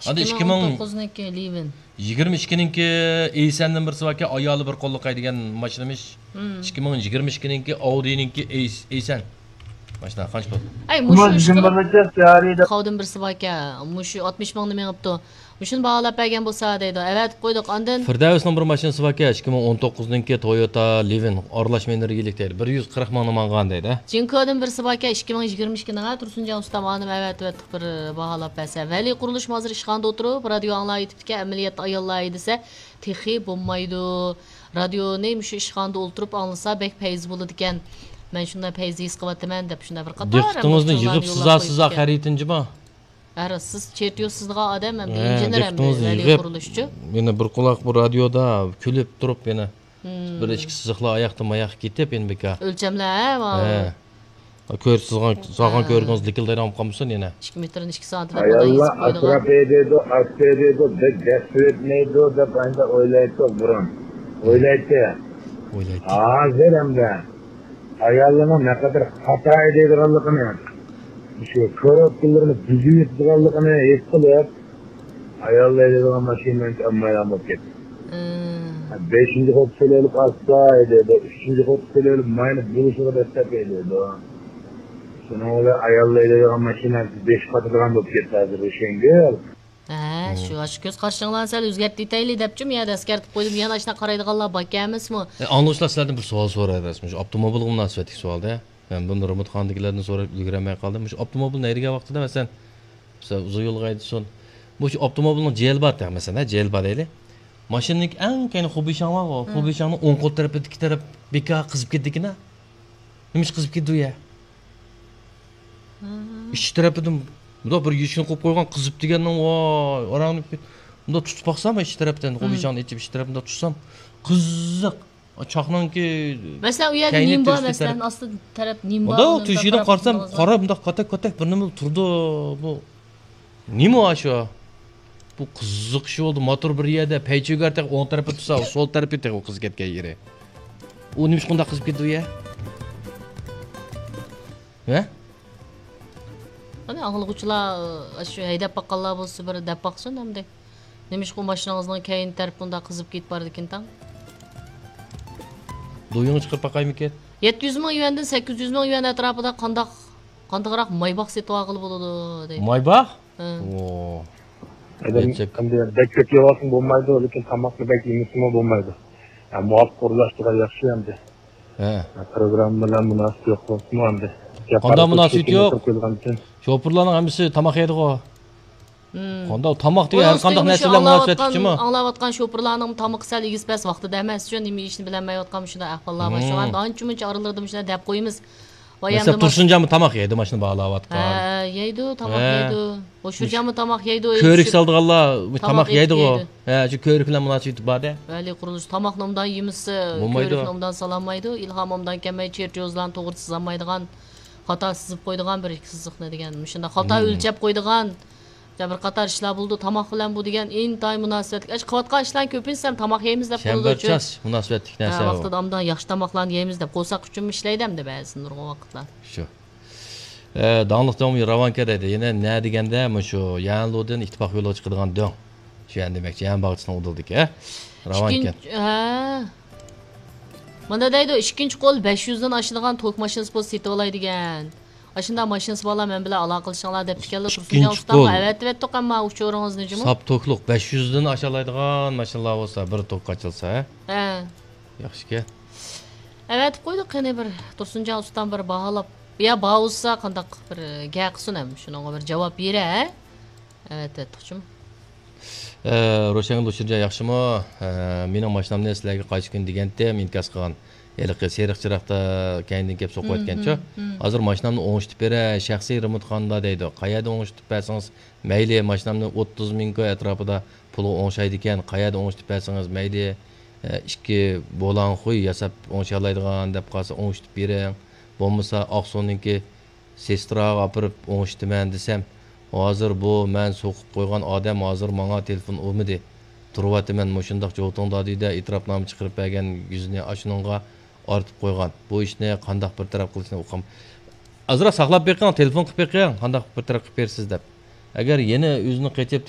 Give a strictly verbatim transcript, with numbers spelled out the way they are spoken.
ئەمدى ئىككى مىڭ ئون توققۇزنىڭكى لىۋىن. يىگىرمە ئىككىنىڭكى ئېيسەندىن بىرسى باركەن، ئايالى بىر قوللۇق ھەيدىگەن ماشىنىمىش. مم. ئىككى مىڭ يىگىرمە ئىككىنىڭكى ئاۋدىنىڭكى ئېيس-، ئېيسەن. ماشىنا قانچە پۇل؟ ئەي، مۇشۇ ئىشقىلىپ، قاۋدىن بىرسى باركەن، مۇشۇ ئاتمىش مىڭنى مېڭىپتۇ. مۇشۇنى باھالاپ بەرگەن بولسا دەيدۇ. ئەۋەتىپ قويدۇق ئاندىن. فىردەۋسنىڭ بىر ماشىنىسى باركەن، ئىككى مىڭ ئون توققۇزنىڭكى تويوتا لىۋىن، ئارىلاش ئېنېرگىيىلىك دەيدۇ. بىر يۈز قىرىق مىڭنى ماڭغان دەيدۇ. جىنكودىن بىرسى باركەن، ئىككى مىڭ يىگىرمە ئىككىنىڭ، ھە، تۇرسۇنجان ئۇستام ئانىم ئەۋەتىۋەتتۇق بىر باھالاپ بەرسە. ۋەلى قۇرۇلۇش ھازىر ئىشخانىدا ئولتۇرۇپ، رادىيو ئاڭلاۋېتىپتىكەن، ئەمەلىيەتتە ئاياللار ھەيدىسە تېخى بولمايدۇ. رادىيونى مۇشۇ ئىشخانىدا ئولتۇرۇپ ئاڭلىسا بەك پەيزى بولىدىكەن. مەن شۇنداق پەيزى ھېس قىلىۋاتىمەن دەپ شۇنداق بىر قاتار دىققىتىڭىزنى يىغىپسىزا سىزا خەرىتىنجىما؟ ھەر سىز چېرتيوز سىزىدىغان ئادەم ھەم ھە، ئىنژېنېر ھەم دىققىتىڭىزنى ۋەلى يىغىپ، قۇرۇلۇشچۇ. يەنە بىر قۇلاق بۇ رادىيودا كۈلۈپ تۇرۇپ يەنە مم. بىر ئىككى سىزىقلار ئاياقتىن ماياققا كېتىپ يەنە بىكار. ئۆلچەملەر ھە، ماۋۇ. ھە. كۆرۈپ سىزغان، سالغان ھە. كۆرگىڭىز لىكىلدايدىغان بولۇپ قالمىسۇن يەنە. ئىككى مېتىرنى ئىككى سانتىمېتىر ئاياللار ئېسىپ قويىدىغان. ئەتراپ ھەيدەيدۇ، ئات ھەيدەيدۇ، بەك دەس تۈگەتمەيدۇ دەپ ئەمدى ئويلايتتۇق بۇرۇن. ئويلايتتى. ئويلايتتى. ھازىر ئەمدى ئاياللارنىڭ نەقەدەر خاتا ھەيدەيدىغانلىقىنى، شۇ كوروتكىلىرىنى بۈزۈۋېتىدىغانلىقىنى ھېس قىلىپ، ئاياللار ھەيدەيدىغان ماشىنىنى ئالمايدىغان بولۇپ كەتتى. مم. بەشىنچى قوپۇسىنى ئېلىپ ئاستا ھەيدەيدۇ، ئۈچىنچى قوپۇسىنى ئېلىپ ماينى بولۇشىغا دەسسەپ ھەيدەيدۇ. شۇنىڭ بىلەن ئاياللار ھەيدەيدىغان ماشىنا بېشى قاتىدىغان بولۇپ كەتتى ھازىر رۇشەنگۈل. ھە، مم. شۇ، شۇ كۆز قارىشىڭلارنى سەل ئۆزگەرتىۋېتەيلى دەپچۇ، يا ئەسكەرتىپ قويدۇم، يەنە ئاشۇنداق قارايدىغانلار باركەن ئەمەسمۇ؟ ئە، ئاڭلىغۇچىلار سىلەردىن بىر سوئال سورايدۇ، شۇ ئاپتوموبىلغا مۇناسىۋەتلىك سوئال-دە. مەن بۇنى رېمونتخانىدىكىلەردىن سوراپ ئۈلگۈرەلمەي قالدىم. مۇشۇ ئاپتوموبىلنى ھەيدىگەن ۋاقتىدا، مەسىلەن، مەسىلەن، ئۇزۇن يولغا ھەيدىسۇن. مۇشۇ ئاپتوموبىلنىڭ جېلى بار، مەسىلەن، ھە، جېلى بار دەيلى. ماشىنىنىڭكى ئەڭ كەينى خۇبىشاڭ بارغۇ، مم. خۇبىشاڭنىڭ ئوڭ قول تەرىپىدىكى تەرەپ بىكار قىزىپ كېتىدىكىنە. نېمىش قىزىپ كېتىدۇ يە؟ مم. ئىچ تەرىپىدىن مۇنداق بىر يېشىنى قويۇپ قويغان قىزىپ دېگەننىڭ، ۋاي، ئاراڭنى مۇنداق تۇتۇپ باقسام، ئىچ تەرەپتىن، مم. خۇبىشاڭنى ئېچىپ، ئىچ تەرەپتىىن مۇنداق تۇتسام، قىزىق. چاقنىڭكى مەسىلەن، ئۇ يەردە كەينى نېمە بار، تۈرۈشلۈك مەسىلەن، تەرەپ. ئاستى تەرەپ نېمە بار، ئۇندا ئۇنىڭ تۆشۈكىدىن قارىسام، قارا، مۇنداق كاتەك-كاتەك بىر نېمە تۇرىدۇ بۇ. نېمە ئۇ شۇ؟ بۇ قىزىق ئىش بولدى. موتور بىر يەردە، پەيچۆگەر تېخى ئوڭ تەرىپى تۇرسا، سول تەرىپى تېخى قىزىپ كەتكەن يېرى. ئۇ نېمىشقا ئۇنداق قىزىپ كېتىدۇ يە؟ ھە؟ قېنى، ئاڭلىغۇچىلار، ئاشۇ ھەيدەپ باققانلار بولسا، بىر دەپ باقسۇن ئەمدى. نېمىشقا ئۇ ماشىنىڭىزنىڭ كەينى تەرىپى ئۇنداق قىزىپ كېتىپ بارىدىكىن تاڭ؟ دويىڭى چىقىرىپ باقايمىكىن؟ يەتتە يۈز مىڭ يۈەندىن سەككىز يۈز مىڭ يۈەن ئەتراپىدا قانداق، قانداقراق مايباخ سېتىۋالغىلى بولىدۇ دەيدۇ. مايباخ؟ ھە. ئو. ئادەم ئەمدى بەك كۆپ يەۋالسىمۇ بولمايدۇ، لېكىن تاماقنى بەك يېمىسىمۇ بولمايدۇ. ھە، مۇۋاپىق ئورۇنلاشتۇرغان ياخشى ئەمدى. ھە. پروگرامما بىلەن مۇناسىۋىتى يوق بولسىمۇ ئەمدى. قانداق مۇناسىۋىتى يوق؟ شوپۇرلارنىڭ ھەممىسى تاماق يەيدىغۇ. قانداق تاماق دېگەن ھەر قانداق نەرسە بىلەن مۇناسىۋەتلىكچىمۇ؟ ئاڭلاۋاتقان شوپۇرلارنىڭ تامىقى سەل ئېگىز پەس ۋاقتىدا ئەمەس، شۇ نېمە ئېيتىشنى بىلەلمەيۋاتقان مۇشۇنداق ئەھۋاللار بار. شۇڭا ئانچە مۇنچە ئارىلىرىدا مۇشۇنداق دەپ قويىمىز. ۋاي، مەسىلەن، تۇرسۇنجانمۇ تاماق يەيدۇ، ماشىنا باھالاۋاتقان. ھە، يەيدۇ، تاماق يەيدۇ. ھوشۇرجانمۇ تاماق يەيدۇ. كۆۋرۈك سالىدىغانلار تاماق يەيدىغۇ. ھە، شۇ كۆۋرۈك بىلەن مۇناسىۋىتى بار-دە. ۋەلى قۇرۇلۇش تاماقنى ئوبدان يېمىسە، كۆۋرۈكنى ئوبدان سالالمايدۇ. ئىلھام ئوبدان كەلمەي، چېرتيوزلارنى توغرا سىزالمايدىغان، خاتا سىزىپ قويىدىغان بىر ئىككى سىزىقنى دېگەن. مۇشۇنداق خاتا ئۆلچەپ قويىدىغان. بىر قاتار ئىشلار بولىدۇ، تاماق بىلەن بۇ دېگەن ئىنتايىن مۇناسىۋەتلىك. ئاشۇ قىلىۋاتقان ئىشلارنىڭ كۆپىنچىسى ھەم تاماق يەيمىز دەپ بولىدۇ. چەمبەرچاس مۇناسىۋەتلىك نەرسە ئۇ. ۋاقتىدا ئاندىن ياخشى تاماقلارنى يەيمىز دەپ قورساق ئۈچۈنمۇ ئىشلەيدۇ ئەمدى بەزىدە نۇرغۇن ۋاقىتلار. شۇ. ئە، داڭلىق دۆڭ راۋانكە دەيدۇ. يەنە نە دېگەندە، مۇشۇ يەنلۇدىن ئىتتىپاق يولىغا چىقىدىغان دۆڭ. شۇ يەن دېمەكچى، يەن باغچىسىنىڭ ئۇدۇلىدىكى، ھە؟ راۋانكە. ئىككىنچى، ھە. مانا دەيدۇ، ئىككىنچى قول بەش يۈزدىن ئاشىدىغان توك ماشىنىسى بولسا سېتىۋالاي دېگەن. ئاشۇنداق ماشىنىسى بارلار مەن بىلەن ئالاقىلىشىڭلار دەپتىكەنلا، تۇرسۇنجان ئۇستامغا ئەۋەتىۋەتتۇق ئەمما ئۇچۇرىڭىزنى جۇمۇ. ساپ توكلۇق بەش يۈزدىن ئاشالايدىغان ماشىنىلار بولسا، بىر توك ئاچىلسا، ھە؟ ھە. ياخشىكەن. ئەۋەتىپ قويدۇق، قېنى بىر تۇرسۇنجان ئۇستام بىر باھالاپ. يا بار بولسا قانداق بىر گەپ قىلسۇن ھەم شۇنىڭغا بىر جاۋاب بېرە، ھە؟ ئەۋەتىۋەتتۇقچۇ. ئە، روشەنگۈل دۇشۇرجان ياخشىمۇ؟ ئە، مېنىڭ ماشىنامنى سىلەرگە قايسى كۈنى دېگەنتىم، ئىنكاس قىلغان. ھېلىقى سېرىق چىراغدا كەينىدىن كېلىپ سوقۇۋەتكەنچۇ. ھازىر ماشىنامنى ئوڭشىتىپ بېرەي، شەخسىي رېمونتخانىدا دەيدۇ. قەيەردە ئوڭشىتىپ بەرسىڭىز مەيلى، ماشىنامنى ئوتتۇز مىڭ كوي ئەتراپىدا پۇلغا ئوڭشايدىكەن. قەيەردە ئوڭشىتىپ بەرسىڭىز مەيلى، ئە، ئىككى بولان خۇي ياساپ ئوڭشىيالايدىغان دەپ قالسا ئوڭشىتىپ بېرىڭ. بولمىسا ئاقسۇنىڭكى سېستراغا ئاپىرىپ ئوڭشىتىمەن دېسەم، ھازىر بۇ مەن سوقۇپ قويغان ئادەم ھازىر ماڭا تېلېفون ئۇرمىدى. تۇرۇۋاتىمەن مۇشۇنداق جوتۇڭدا دېدى، ئېتىراپنامە چىقىرىپ بەرگەن يۈزىنى ئاشۇنىڭغا ئارتىپ قويغان. بۇ ئىشنى قانداق بىر تەرەپ قىلىشنى ئۇقام-، ئازراق ساقلاپ بېقىڭ، تېلېفون قىلىپ بېقىڭ، قانداق بىر تەرەپ قىلىپ بېرىسىز دەپ. ئەگەر يەنە ئۆزىنى قېچىپ